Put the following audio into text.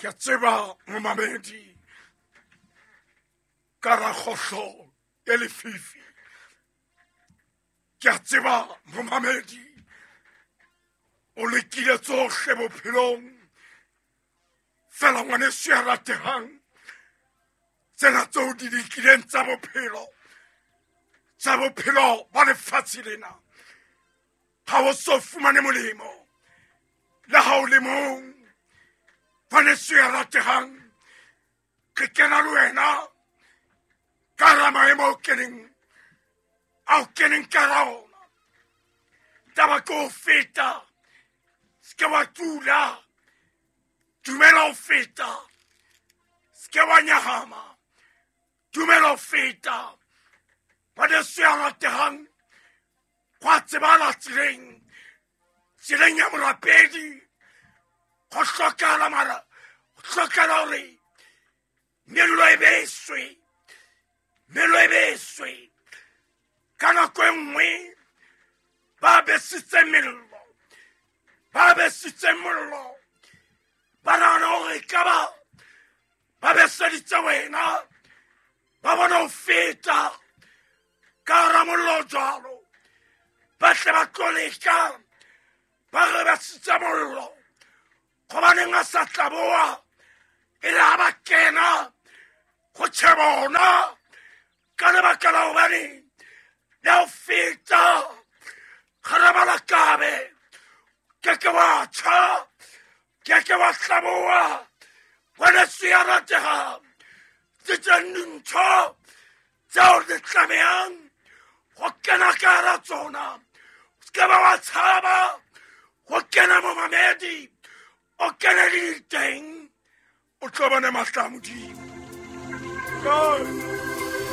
Ke a tseba momamedi ka rakgohlo e lefifi. Ke a tseba momamedi o lekile tsohle bophelong, fela ngwaneso ya ratehang, tsena tseo di lekileng tsa bophelo, tsa bophelo ba lefatshe lena, ha o so fumane molemo le ha o le mong. Ngwaneso ya ratehang, ke kena le wena ka hara maemo ao keneng, ao keneng ka hara ona. Taba ke ho feta, se ke wa tula, dumela ho feta, se ke wa nyahama, dumela ho feta. Ngwaneso ya ratehang, gwa tsebala tseleng, tseleng ya morapedi, go hlokala mara, go hlokala hore mello e beswe, mello e beswe. Ka nako e nngwe ba besitse mello, ba besitse mollo, ba nahana hore ka ba ba beseditse wena, ba bona ho feta ka hara mollo jwalo, ba tle ba tlo leka, ba re besitse mollo, gobaneng a sa tlaboa, e le ha ba kena go tjhe bona, ka lebaka la hobane le ho feta ga re ba lakabe, ke ke wa tjha, ke ke wa hlaboa. Ngwaneso ya ratehang, ke tse dintho tseo di tlamehang go kena ka hara tsona. Se ke ba wa tshaba go kena momamedi, o kene le diteng, o tlo bona mahlo a Modimo.